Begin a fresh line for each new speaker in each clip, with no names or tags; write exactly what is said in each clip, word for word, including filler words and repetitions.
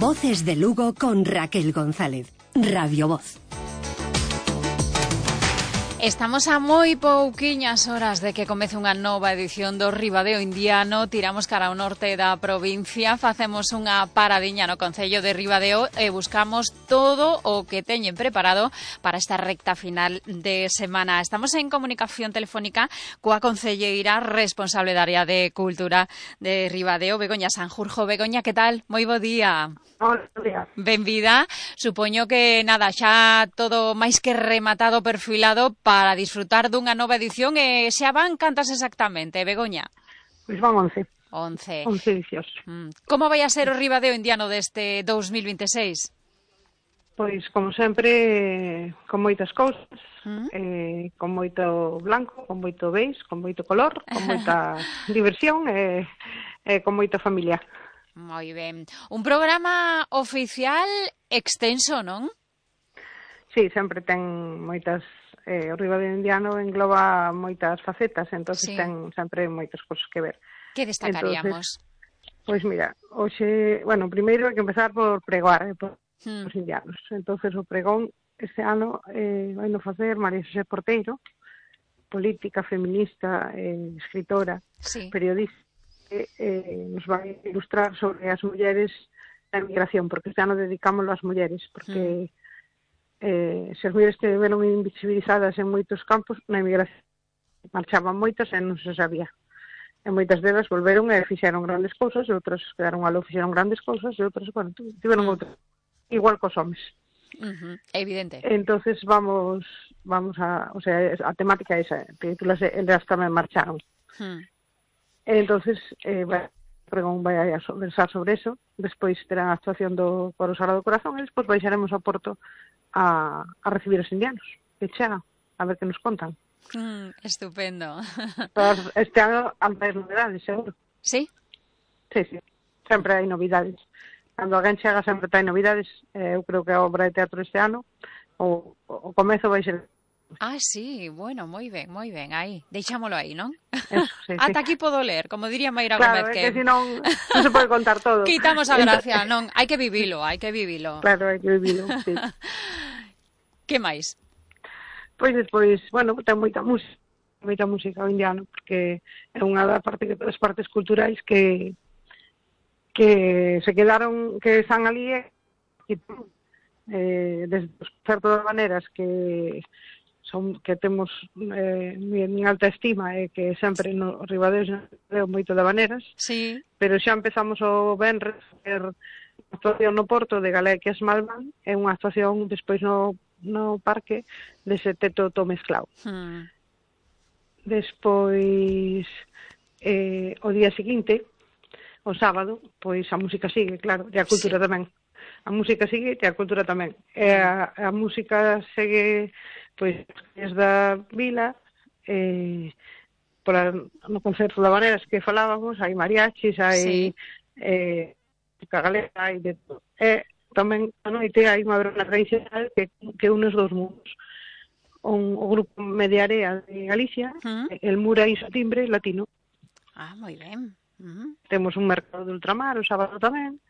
Voces de Lugo con Raquel González. Radio Voz.
Estamos a moi pouquiñas horas de que comece unha nova edición do Ribadeo Indiano. Tiramos cara ao norte da provincia, facemos unha paradiña no concello de Ribadeo e buscamos todo o que teñen preparado para esta recta final de semana. Estamos en comunicación telefónica coa concelleira responsable da área de cultura de Ribadeo, Begoña Sanjurjo. Begoña, que tal? Moi bo día.
Hola, día.
Benvida. Supoño que, nada, xa todo máis que rematado, perfilado para disfrutar dunha nova edición. E xa van cantas exactamente, Begoña?
Pois van once.
Once.
Once edicións.
Mm. Como vai a ser o Ribadeo Indiano deste dous mil vinte e seis?
Pois, como sempre, con moitas cousas,
Mm.
eh, con moito blanco, con moito beis, con moito color, con moita diversión e eh, eh, con moita familia.
Moi ben. Un programa oficial extenso, non?
Sí, sempre ten moitas... Eh, o Ribadeo Indiano engloba moitas facetas, entonces
Sí.
ten sempre moitas cousas que ver.
Que destacaríamos?
Pois mira, hoxe, bueno, primeiro hai que empezar por pregoar, eh, por
Mm.
os indianos. Entonces o pregón este ano eh, vai no facer María Xosé Porteiro, política, feminista, eh, escritora,
Sí.
periodista, que eh, nos vai ilustrar sobre as mulleres da emigración, porque este ano dedicámoslo ás mulleres, porque mm. eh, se as mulleres que veron invisibilizadas en moitos campos, na emigración marchaban moitas e non se sabía. E moitas delas volveron e fixeron grandes cousas, e outras quedaron aló, fixeron grandes cousas, e outras, bueno, tiveron mm. outras, igual cos homes.
Uh-huh. Evidente.
Entonces vamos vamos a, o sea, a temática esa, titúlase Elas tamén marcharon.
Hmm.
Entonces, eh, vai, pregón vai a versar sobre eso, despois terá a actuación do Coro Sagrado Corazón e despois baixaremos ao Porto a, a recibir os indianos, que chega, a ver que nos contan.
Mm, estupendo.
Todas, este ano hai novidades, seguro.
Sí?
Sí, sí, sempre hai novidades. Cando alguén chega sempre hai novidades, eh, eu creo que a obra de teatro este ano, o, o comezo vai ser...
Ah, sí, bueno, moi ben, moi ben, aí, deixámolo aí, non?
Eso, sí,
Ata
sí.
aquí podo ler, como diría Mayra
Claro,
Gómez,
que, que si non, non se pode contar todo.
Quitamos a gracia, non, hai que vivilo, hai que vivilo.
Claro, hai que vivilo, sí.
Que máis?
Pois despois, bueno, ten moita música, moita música o indiano, porque é unha das parte, das partes culturais que que se quedaron, que están ali e eh, desde os concertos das maneras que son que temos eh, en alta estima e que sempre no Ribadeo deu moito de maneras,
Sí.
pero xa empezamos o venres a ver a actuación no Porto de Galequias Malván e unha actuación despois no, no parque de Seteto to Mezclao.
Hmm.
Despois eh, o día seguinte, o sábado, pois a música sigue, claro, e a cultura
Sí.
tamén. A música sigue e a cultura tamén. E a, a música segue pois desde a vila, eh, pola, no concerto da Vaneras que falábamos, hai mariachis, hai
Sí.
eh, galega, hai de todo. E tamén a noite hai unha verona tradicional que, que une os dous mundos. Un, o grupo Mediarea de Galicia,
Hmm.
el Mura e o timbre latino.
Ah, moi ben. Uh-huh.
Temos un mercado de ultramar o sábado tamén.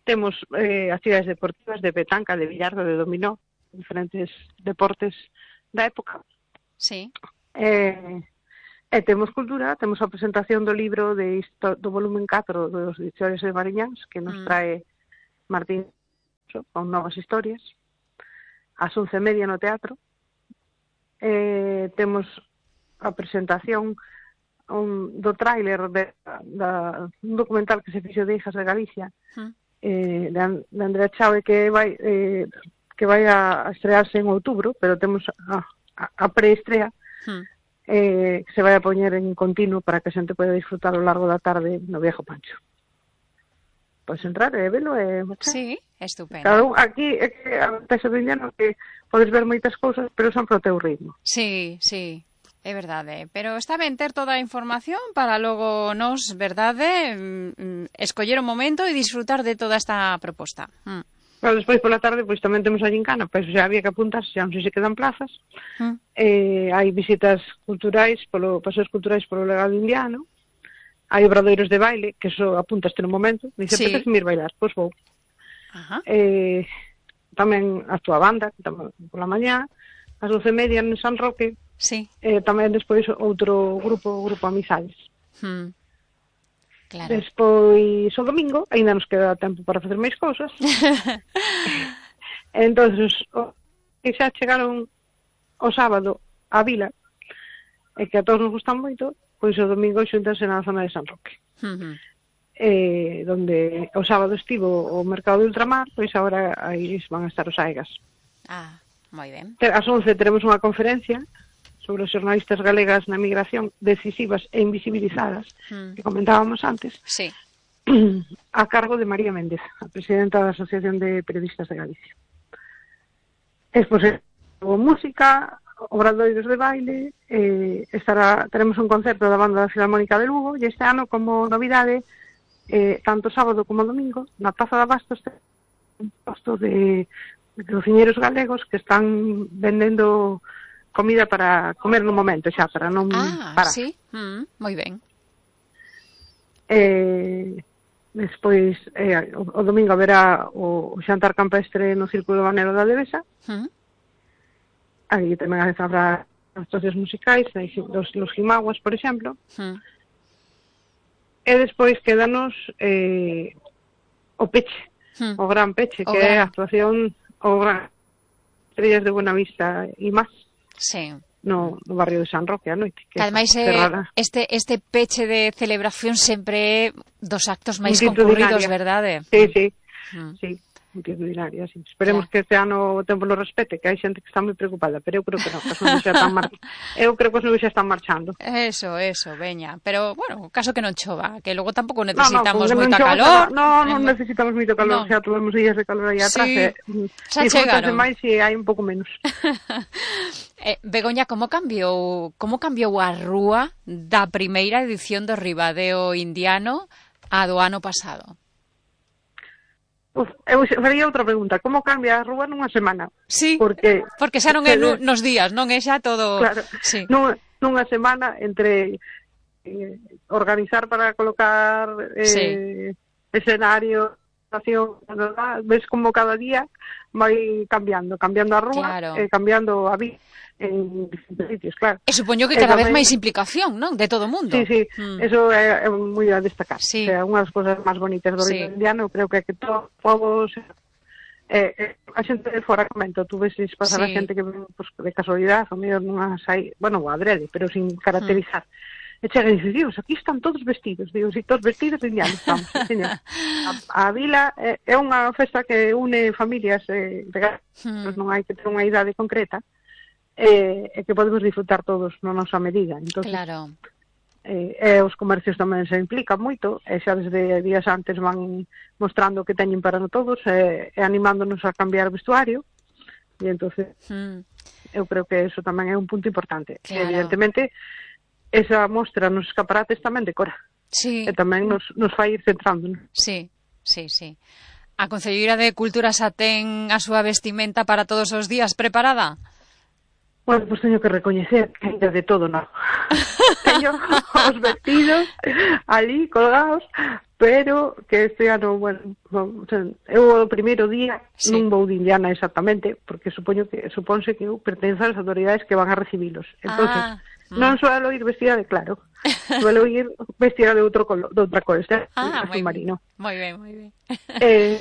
Temos eh, actividades deportivas de petanca, de billardo, de dominó, diferentes deportes da época.
Sí.
Eh, e temos cultura, temos a presentación do libro de histo- do volumen catro dos Diccionarios de Mariñáns, que nos
Mm.
trae Martín con novas historias. Ás once e media no teatro. Eh, temos a presentación un, do tráiler de, da, un documental que se fixo de Hijas de Galicia,
Hmm.
eh, de, An- de Andrea Chávez, que vai eh, que vai a estrearse en outubro, pero temos a, a, a preestrea
Hmm.
eh, que se vai a poñer en continuo para que a xente poida disfrutar ao largo da tarde no Viejo Pancho. Podes entrar e velo e marchar.
Sí, estupendo.
Claro, aquí é que a peça do indiano que podes ver moitas cousas, pero son pro teu ritmo.
Sí, sí. É verdade, pero está ben ter toda a información para logo nos, verdade, mm, escoller o momento e disfrutar de toda esta proposta. Mm.
Pero despois pola tarde pois tamén temos a gincana, pois xa había que apuntarse, xa non sei se quedan plazas.
Mm.
Eh, hai visitas culturais, polo paseos culturais polo legado indiano. Hai obradoiros de baile, que eso apuntaste no momento. Dice,
Sí.
apetece ir bailar, pois vou.
Ajá.
Eh, tamén actúa a banda, tamén pola mañá, ás doce e media en San Roque,
Sí.
e tamén despois outro grupo, o grupo Amizades.
Hmm. Claro.
Despois, o domingo, aínda nos queda tempo para facer máis cousas. Entonces, o, que xa chegaron o sábado á vila, e que a todos nos gustan moito, pois o domingo xuntanse na zona de San Roque.
Uh-huh.
Eh, donde o sábado estivo o mercado de ultramar, pois agora aí van a estar os Aigas.
Ah, moi ben.
Ás once teremos unha conferencia sobre os xornalistas galegas na migración, decisivas e invisibilizadas, mm. que comentábamos antes,
sí.
a cargo de María Méndez, a presidenta da Asociación de Periodistas de Galicia. Despois, o música, obradoiros de baile, eh, estará, teremos un concerto da banda da Filarmónica de Lugo, e este ano, como novidade, eh, tanto sábado como domingo, na Praza de Abastos, un posto de, de cociñeros galegos que están vendendo comida para comer no momento xa, para non
ah,
parar.
Sí, mm, moi ben.
Eh, despois, eh, o, o domingo haberá o, o xantar campestre no Círculo Banero da Devesa. Mm. Aí tamén habrá actuacións musicais, los, los Jimaguas, por exemplo. Mm. E despois quédanos eh, o peche, mm. o gran peche, o que gran... é a actuación o gran Estrellas de Buenavista e máis.
Sí.
No, no barrio de San Roque a noite.
Que, que ademais é, este, este peche de celebración sempre é dos actos máis concurridos, verdade?
Sí, sí, mm. sí, multitudinaria, sí. Esperemos claro. que este ano o tempo lo respete, que hai xente que está moi preocupada, pero eu creo que non, que as nubes xa están mar... eu creo que as nubes xa están marchando.
Eso, eso, veña, pero, bueno, caso que non chova, que logo tampouco necesitamos
no, no,
moita
chova,
calor.
No, non no necesitamos moito calor,
no.
xa tuvemos días de calor aí atrás,
sí.
e
xa chegaron.
máis se hai un pouco menos.
Eh, Begoña, como cambiou como cambiou a rúa da primeira edición do Ribadeo Indiano a do ano pasado?
Uf, eu faría outra pregunta. Como cambia a rúa nunha semana?
Sí,
porque,
porque xa non é nu, nos días, non é xa todo...
Claro,
sí.
nunha, nunha semana entre eh, organizar para colocar eh,
sí.
escenario, ves como cada día vai cambiando, cambiando a rúa,
claro.
eh, cambiando a vida en distintos sitios, claro.
E supoño que cada eh, vez máis implicación, non? De todo o mundo.
Sí, sí,
mm.
eso é, é moi a destacar.
Sí.
O sea, unha das cousas máis bonitas do
sí.
Río Indiano, creo que é que todos os povos, eh, eh, a xente de fora comento, tú ves pasar sí. a xente que pues, de casualidade, o mellor nunha sai, bueno, adrede, pero sin caracterizar. Mm. E chega e dice, Dios, aquí están todos vestidos. Digo, si todos vestidos, indianos estamos, señor. A, a vila é, é unha festa que une familias eh, de mm. non hai que ter unha idade concreta, e eh, que podemos disfrutar todos na nosa medida. Entonces,
claro.
Eh, e os comercios tamén se implican moito, e xa desde días antes van mostrando o que teñen para todos, e, e animándonos a cambiar o vestuario, e entonces mm. eu creo que eso tamén é un punto importante.
Claro.
Evidentemente, esa mostra nos escaparates tamén decora,
sí.
e tamén nos, nos fai ir centrándonos.
Sí, sí, sí. A Concelleira de Cultura xa ten a súa vestimenta para todos os días preparada?
Bueno, pois pues teño que recoñecer que ainda de todo non. Teño os vestidos ali colgados, pero que este ano, bueno, o sea, eu o primeiro día sí. non vou de indiana exactamente, porque supoño que supónse que eu pertenzo ás autoridades que van a recibilos. Entonces, ah, non mm. suelo ir vestida de claro, suelo ir vestida de outro color, de outra cor, este
ah,
azul marino.
Moi ben, moi ben.
Eh,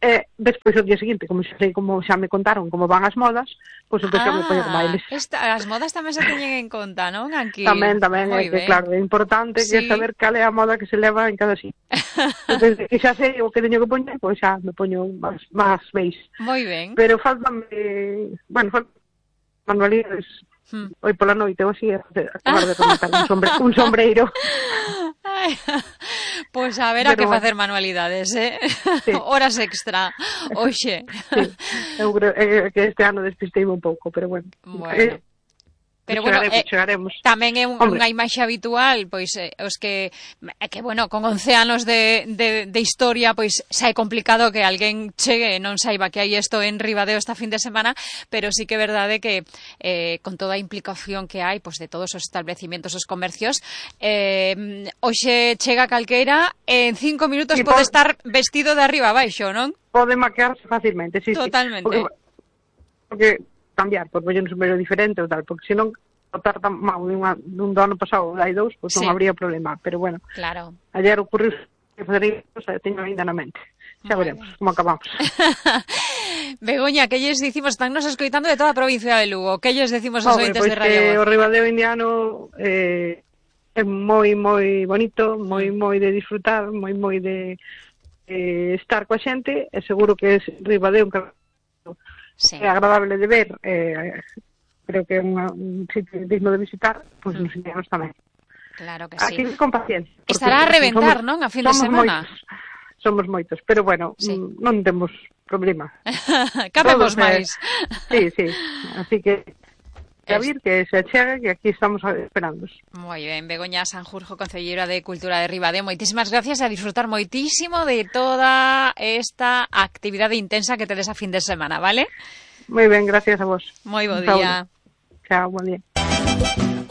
Eh, despois o día seguinte, como xa sei, como xa me contaron como van as modas, pois pues, entón xa
ah,
me poño bailes.
Esta, as modas tamén se teñen en conta, non? Aquí.
Tamén, tamén, é que claro, é importante sí. que saber cal é a moda que se leva en cada sitio. Desde que xa sei o que teño que poñer, pois xa me poño máis, máis beis.
Moi ben.
Pero faltame, bueno, faltan manualidades. Hmm. Hoy pola noite, ou así, acabar de rematar un, sombre, un sombreiro.
Ai, pois a ver a que facer manualidades, eh? Sí. Horas extra, oxe.
Sí, eu creo eh, que este ano despistei un pouco, pero bueno.
Bueno. Eh, Pero bueno,
chegaremos,
eh,
chegaremos.
tamén é un,
Hombre.
unha imaxe habitual, pois eh, os que é que bueno, con once anos de, de, de historia, pois xa é complicado que alguén chegue e non saiba que hai isto en Ribadeo esta fin de semana, pero sí que é verdade que eh, con toda a implicación que hai pois de todos os establecimientos, os comercios, eh, hoxe chega calqueira e en cinco minutos
Sí,
pode
por...
estar vestido de arriba a baixo, non?
Pode maquearse facilmente, sí,
Totalmente.
sí. Porque, porque cambiar, pois pues, un sombrero diferente ou tal, porque senón botar tan mal dunha, dun do ano pasado ou dai dous, pois pues,
Sí.
non habría problema, pero bueno,
Claro.
ayer ocurriu que fazer isto, xa teño ainda na mente. Xa
Muy
veremos como acabamos.
Begoña, que lles dicimos? Están nos escoitando de toda a provincia de Lugo. Que lles decimos aos
Hombre,
ointes
pois
de Radio
que o
Voz?
Ribadeo indiano eh, é moi, moi bonito, moi, moi de disfrutar, moi, moi de eh, estar coa xente, e seguro que é Ribadeo un
Sí.
é agradable de ver, eh, creo que é unha, un sitio digno de visitar, pois pues, nos indianos tamén.
Claro que sí.
Aquí con paciencia. porque
Estará a reventar,
somos,
non? A fin de
somos
semana.
Moitos, somos moitos, pero bueno,
Sí.
mm, non temos problema.
Cabemos
Todos,
máis.
Eh, sí, sí, así que a
Es-
vir que se achegue, que aquí estamos esperando.
Moi ben, Begoña Sanjurjo, concelleira de Cultura de Ribadeo, moitísimas gracias, a disfrutar moitísimo de toda esta actividade intensa que tedes a fin de semana, vale?
Moi ben, gracias a vos.
Moi bo
Un saúdo.
día.
Chao, buen día.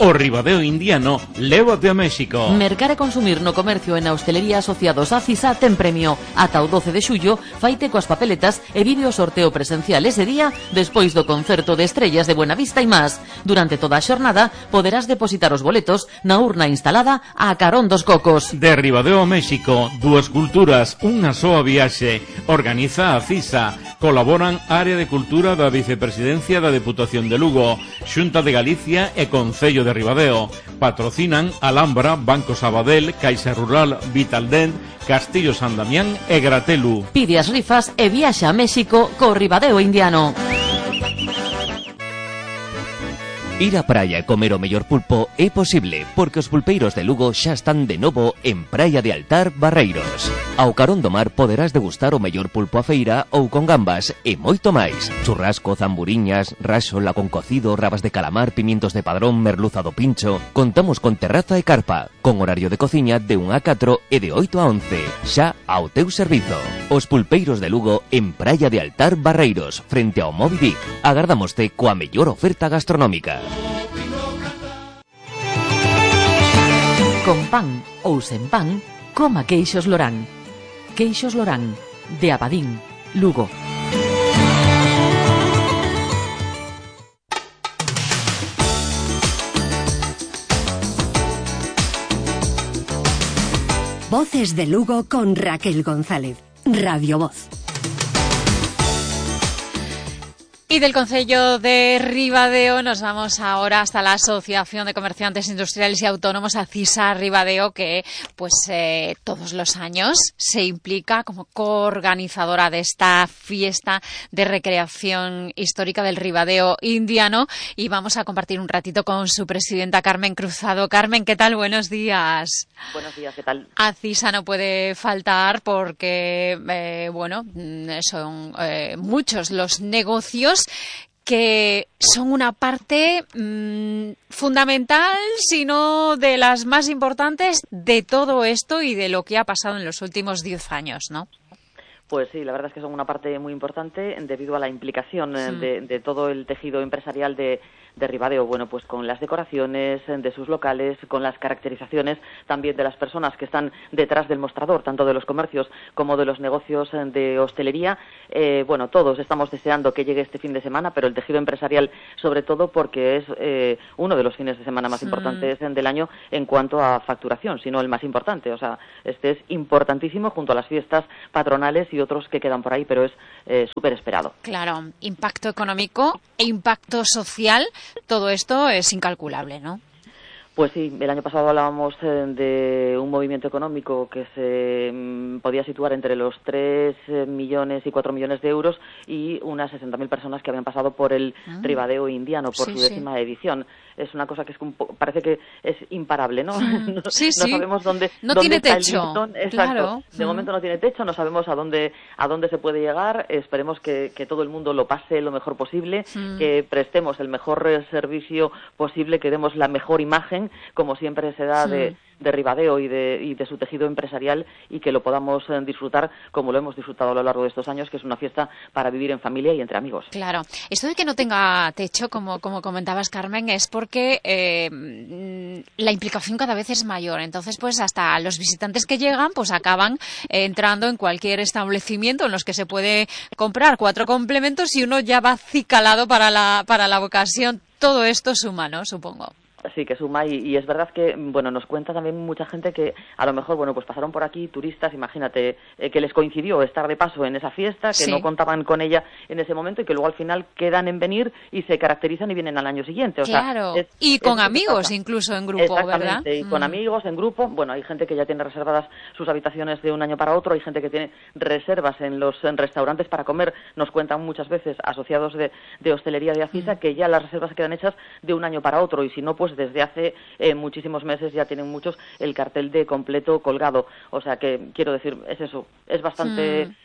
O Ribadeo indiano, lévate a México.
Mercar e consumir no comercio e na hostelería asociados a CISA ten premio. Ata o doce de xullo, faite coas papeletas e vive o sorteo presencial ese día despois do concerto de estrellas de Buenavista e más. Durante toda a xornada poderás depositar os boletos na urna instalada a carón dos cocos.
De Ribadeo a México, dúas culturas, unha soa viaxe. Organiza a CISA. Colaboran Área de Cultura da Vicepresidencia da Deputación de Lugo, Xunta de Galicia e Concello de Ribadeo. Patrocinan Alhambra, Banco Sabadell, Caixa Rural, Vitaldent, Castillo San Damián e Gratelu.
Pide as rifas e viaxa a México co Ribadeo indiano.
Ir á praia e comer o mellor pulpo é posible, porque os pulpeiros de Lugo xa están de novo en Praia de Altar, Barreiros. Ao carón do mar poderás degustar o mellor pulpo a feira ou con gambas e moito máis. Churrasco, zamburiñas, raxola con cocido, rabas de calamar, pimientos de padrón, merluza do pincho. Contamos con terraza e carpa, con horario de cociña de un a catro e de oito a once, xa ao teu servizo. Os pulpeiros de Lugo en Praia de Altar, Barreiros, frente ao Moby Dick. Agardámoste coa mellor oferta gastronómica.
Con pan ou sen pan, coma queixos Lorán. Queixos Lorán, de Abadín, Lugo.
Voces de Lugo con Raquel González. Radio Voz.
Y del Concello de Ribadeo nos vamos ahora hasta la Asociación de Comerciantes Industriales y Autónomos, a CISA Ribadeo, que pues eh, todos los años se implica como coorganizadora de esta fiesta de recreación histórica del Ribadeo indiano, y vamos a compartir un ratito con su presidenta Carmen Cruzado. Carmen, ¿qué tal? Buenos días.
Buenos días, ¿qué tal?
A CISA no puede faltar porque, eh, bueno, son eh, muchos los negocios que son una parte mmm, fundamental, si no de las más importantes, de todo esto y de lo que ha pasado en los últimos diez años, ¿no?
Pues sí, la verdad es que son una parte muy importante debido a la implicación
Sí.
de, de todo el tejido empresarial de, de Ribadeo, bueno, pues con las decoraciones de sus locales, con las caracterizaciones también de las personas que están detrás del mostrador, tanto de los comercios como de los negocios de hostelería. Eh, bueno, todos estamos deseando que llegue este fin de semana, pero el tejido empresarial sobre todo porque es eh, uno de los fines de semana más
Sí.
importantes del año en cuanto a facturación, si no el más importante. O sea, este es importantísimo junto a las fiestas patronales y otros que quedan por ahí, pero es eh, súper esperado.
Claro, impacto económico e impacto social, todo esto es incalculable, ¿no?
Pues sí, el año pasado hablábamos eh, de un movimiento económico que se mm, podía situar entre los tres millones y cuatro millones de euros y unas sesenta mil personas que habían pasado por el ah. Ribadeo indiano, por sí, su décima sí. edición. Es una cosa que es un po- parece que es imparable, ¿no?
Mm.
no,
sí,
no
sí.
sabemos dónde,
no
dónde
tiene
está
techo.
el listón. Exacto.
Claro.
De mm. momento no tiene techo, no sabemos a dónde a dónde se puede llegar. Esperemos que, que todo el mundo lo pase lo mejor posible, mm. que prestemos el mejor servicio posible, que demos la mejor imagen, como siempre se da de, de Ribadeo y de, y de su tejido empresarial, y que lo podamos eh, disfrutar como lo hemos disfrutado a lo largo de estos años, que es una fiesta para vivir en familia y entre amigos.
Claro. Esto de que no tenga techo, como, como comentabas, Carmen, es porque eh, la implicación cada vez es mayor. Entonces, pues hasta los visitantes que llegan, pues acaban eh, entrando en cualquier establecimiento en los que se puede comprar cuatro complementos y uno ya va acicalado para la, para la ocasión. Todo esto suma, ¿no? Supongo.
Sí, que suma, y, y es verdad que, bueno, nos cuenta también mucha gente que a lo mejor, bueno, pues pasaron por aquí turistas, imagínate, eh, que les coincidió estar de paso en esa fiesta, que sí. no contaban con ella en ese momento y que luego al final quedan en venir y se caracterizan y vienen al año siguiente. O
claro,
sea, es,
y con
es
amigos incluso en grupo,
Exactamente,
¿verdad?
y con mm. amigos en grupo. Bueno, hay gente que ya tiene reservadas sus habitaciones de un año para otro, hay gente que tiene reservas en los en restaurantes para comer. Nos cuentan muchas veces asociados de, de hostelería de Acisa mm. que ya las reservas se quedan hechas de un año para otro, y si no, pues desde hace eh, muchísimos meses ya tienen muchos el cartel de completo colgado. O sea que, quiero decir, es eso, es bastante... Mm.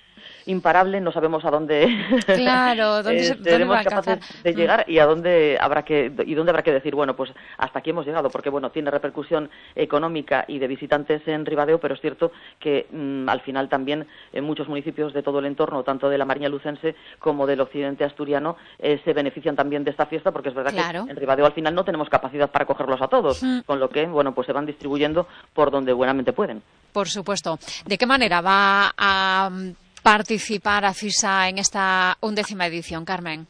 imparable, no sabemos a dónde,
claro, ¿dónde se,
eh, seremos
dónde
capaces de llegar mm. y a dónde habrá que y dónde habrá que decir, bueno, pues hasta aquí hemos llegado, porque bueno, tiene repercusión económica y de visitantes en Ribadeo, pero es cierto que mmm, al final también en muchos municipios de todo el entorno, tanto de la Mariña Lucense como del occidente asturiano, eh, se benefician también de esta fiesta, porque es verdad
claro.
que en Ribadeo al final no tenemos capacidad para cogerlos a todos, mm. con lo que, bueno, pues se van distribuyendo por donde buenamente pueden.
Por supuesto. ¿De qué manera va a participar Acisa en esta undécima edición, Carmen?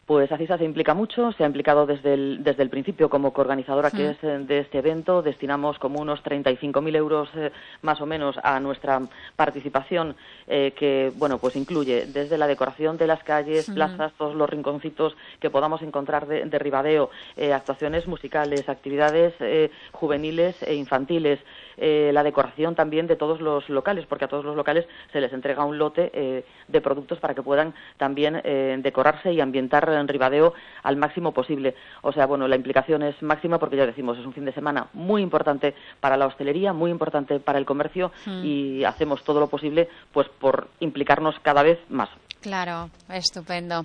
Pues Acisa se implica mucho, se ha implicado desde el, desde el principio como coorganizadora que mm. es de este evento. Destinamos como unos treinta y cinco mil euros eh, más o menos a nuestra participación, eh, que bueno, pues incluye desde la decoración de las calles, mm. plazas, todos los rinconcitos que podamos encontrar de, de Ribadeo, eh, actuaciones musicales, actividades eh, juveniles e infantiles, eh, la decoración también de todos los locales, porque a todos los locales se les entrega un lote eh, de productos para que puedan también eh, decorarse y ambientar en Ribadeo al máximo posible. O sea, bueno, la implicación es máxima porque ya decimos, es un fin de semana muy importante para la hostelería, muy importante para el comercio mm. y hacemos todo lo posible pues por implicarnos cada vez más.
Claro, estupendo.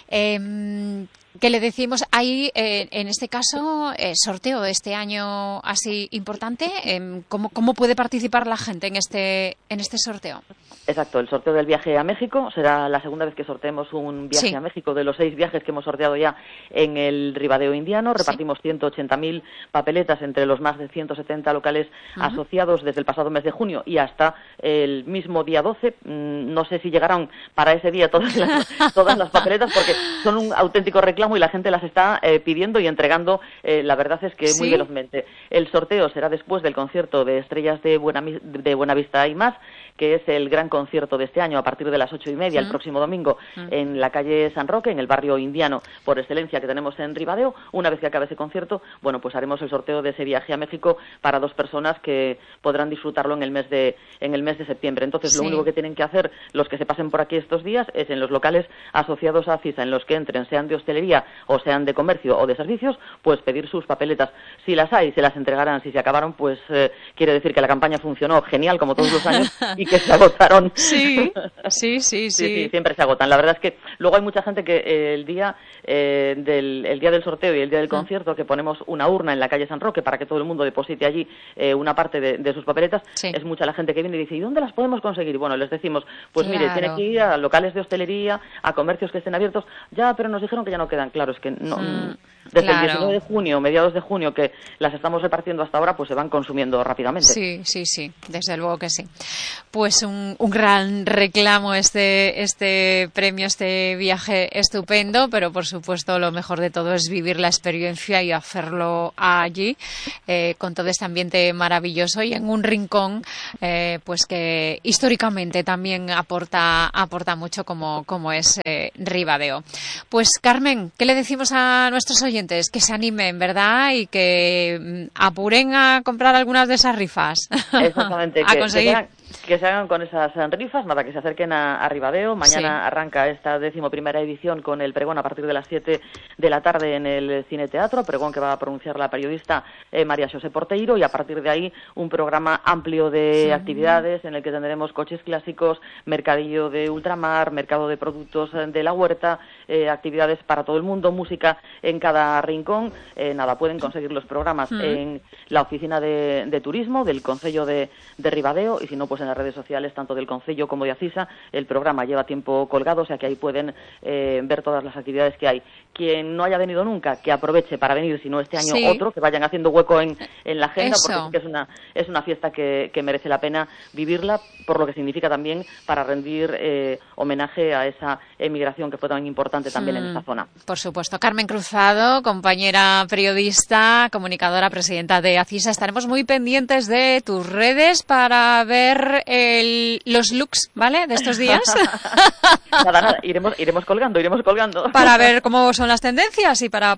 Eh, ¿Qué le decimos? Hay, eh, en este caso, eh, sorteo este año así importante. Eh, ¿cómo, ¿Cómo puede participar la gente en este, en este sorteo?
Exacto, el sorteo del viaje a México será la segunda vez que sorteemos un viaje sí. a México de los seis viajes que hemos sorteado ya en el Ribadeo indiano. Repartimos sí. ciento ochenta mil papeletas entre los más de ciento setenta locales uh-huh. asociados desde el pasado mes de junio y hasta el mismo día doce. No sé si llegarán para ese día todas las, todas las papeletas, porque son un auténtico reclamo y la gente las está eh, pidiendo y entregando, eh, la verdad es que muy ¿Sí? velozmente. El sorteo será después del concierto de Estrellas de, Buena, de Buenavista y más, que es el gran concierto de este año a partir de las ocho y media mm. el próximo domingo mm. en la calle San Roque, en el barrio indiano por excelencia que tenemos en Ribadeo. Una vez que acabe ese concierto, bueno, pues haremos el sorteo de ese viaje a México para dos personas que podrán disfrutarlo en el mes de en el mes de septiembre. Entonces, sí. lo único que tienen que hacer los que se pasen por aquí estos días es en los locales asociados a Acisa, en los que entren, sean de hostelería o sean de comercio o de servicios, pues pedir sus papeletas. Si las hay, se las entregarán. Si se acabaron, pues eh, quiere decir que la campaña funcionó genial, como todos los años, y que se agotaron.
Sí, sí, sí, sí.
sí, sí siempre se agotan. La verdad es que luego hay mucha gente que eh, el día eh, del el día del sorteo y el día del concierto, que ponemos una urna en la calle San Roque para que todo el mundo deposite allí eh, una parte de, de sus papeletas, sí. es mucha la gente que viene y dice, ¿y dónde las podemos conseguir? Y bueno, les decimos, pues claro. mire, tiene que ir a locales de hostelería, a comercios que estén abiertos. Ya, pero nos dijeron que ya no quedan. Claro, es que no... Mm. Desde claro. el diecinueve de junio, mediados de junio, que las estamos repartiendo hasta ahora, pues se van consumiendo rápidamente.
Sí, sí, sí, desde luego que sí. Pues un, un gran reclamo este, este premio, este viaje estupendo, pero por supuesto lo mejor de todo es vivir la experiencia y hacerlo allí, eh, con todo este ambiente maravilloso y en un rincón, eh, pues que históricamente también aporta, aporta mucho como, como es eh, Ribadeo. Pues Carmen, ¿qué le decimos a nuestros oyentes? Que se animen, ¿verdad? Y que apuren a comprar algunas de esas rifas.
Exactamente.
a
que,
conseguir.
Que Que se hagan con esas rifas, nada, que se acerquen a, a Ribadeo. Mañana sí. arranca esta decimoprimera edición con el pregón a partir de las siete de la tarde en el Cine Teatro, pregón que va a pronunciar la periodista eh, María Xosé Porteiro, y a partir de ahí un programa amplio de sí. actividades en el que tendremos coches clásicos, mercadillo de ultramar, mercado de productos de la huerta, eh, actividades para todo el mundo, música en cada rincón. Eh, nada, pueden conseguir los programas mm. en la oficina de, de turismo del Concello de, de Ribadeo, y si no, pues en las redes sociales tanto del Concello como de Acisa. El programa lleva tiempo colgado, o sea que ahí pueden eh, ver todas las actividades que hay. Quien no haya venido nunca, que aproveche para venir, si no este año sí. otro, que vayan haciendo hueco en, en la agenda,
Eso.
porque es una es una fiesta que, que merece la pena vivirla, por lo que significa también para rendir eh, homenaje a esa emigración que fue tan importante también mm, en esta zona.
Por supuesto. Carmen Cruzado, compañera periodista, comunicadora, presidenta de Acisa. Estaremos muy pendientes de tus redes para ver el, los looks, ¿vale?, de estos días.
Nada, nada, iremos, iremos colgando, iremos colgando.
Para ver cómo son las tendencias y para